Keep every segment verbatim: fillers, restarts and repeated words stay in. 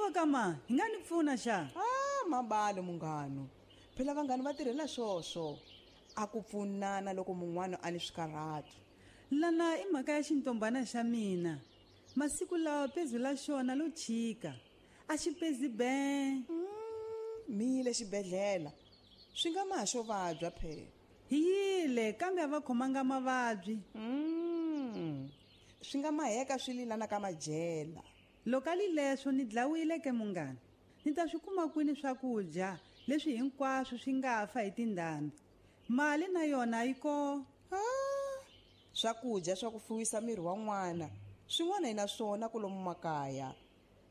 Iwe kama hi nga ni pfuna xa? Ah, mabalo munghano. Phela vanghani va tirhela swoswo. A ku pfunana loko mun'wana a ni swikarhato. Lana i mhaka ya xintombana xa mina. Masiku lawa pezu la xona lo chika. A xi pezi ben. Mm, mi yile xibedhlele. Swi nga ma xo vabya phela. Hi yile kambe a va khomanga mavabyi. Mm. Swi nga maheka swi lilana ka majela. Loko a li leswo ni dlawile ke munghana. Ni ta swi kuma kwini swakudya leswi hinkwaswo swi nga fa hi tindhambi. Mali na yona yi ko. Ah, swakudya swa ku fuwisa miri wa n'wana swin'wana hi na swona kulomu makaya.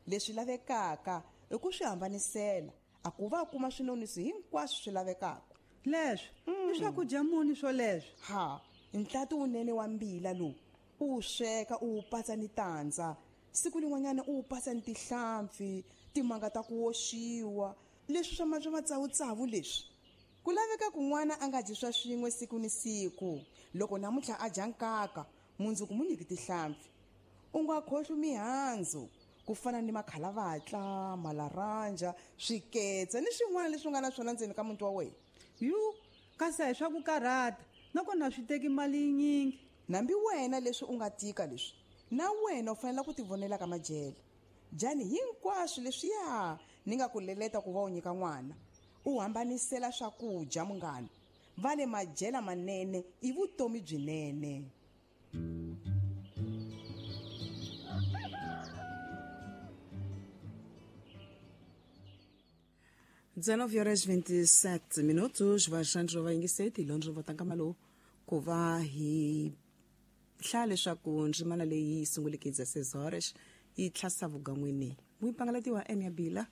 Leswi lavekaka i ku swi hambanisela a ku va kuma swinonisi hinkwaswo swi lavekaka. Leswi mm. i swakudya muni swoleswo? Ha, ntlati wunene wa mbila lowu u wu sweka u wu patsa ni tandza. Siku lin'wanyana u wu patsa ni tihlampfi, timanga ta ku woxiwa, leswi swa ma swa matsavutsavu leswi. Ku laveka kun'wana a nga dyi swa swin'we siku ni siku. Loko namuntlha a dya nkaka, mundzuku mu nyiki tihlampfi. U nga khohlwi mihandzu ku fana ni makhalavatla, malaranja, swiketsa ni swin'wana leswi nga na swona ndzeni ka muti wa wena. Yu, kasi a hi swa ku karhata, nakona swi teki mali yinyingi. Nambi wena leswi u nga tika leswi, na wena u fanele ku tivonela ka majele. Dyani hinkwaswo leswiya ni nga ku leleta ku va u nyika n'wana. U hambanisela swakudya munghana. Va le majela manene i vutomi byinene. dezenove horas vinte e sete minutos, vaxandro va yingiseti londro va tanga malo ku va hi hlaya leswaku ndzimana leyi yi sunguleke dezesseis horas yi tlhasa vugan'wini. Muipangalatiwa Enya Bila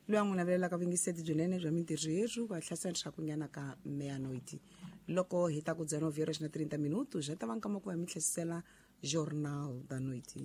loyi a n'wi navelelaka vuyingiseti byinene bya mintirho yerhu va hlasa nxakunyana ka meia-noite. Loko hi ta ku dezenove horas na trinta minutos, ja ta va nkama ku va mi tlhesisela Jornal da Noite.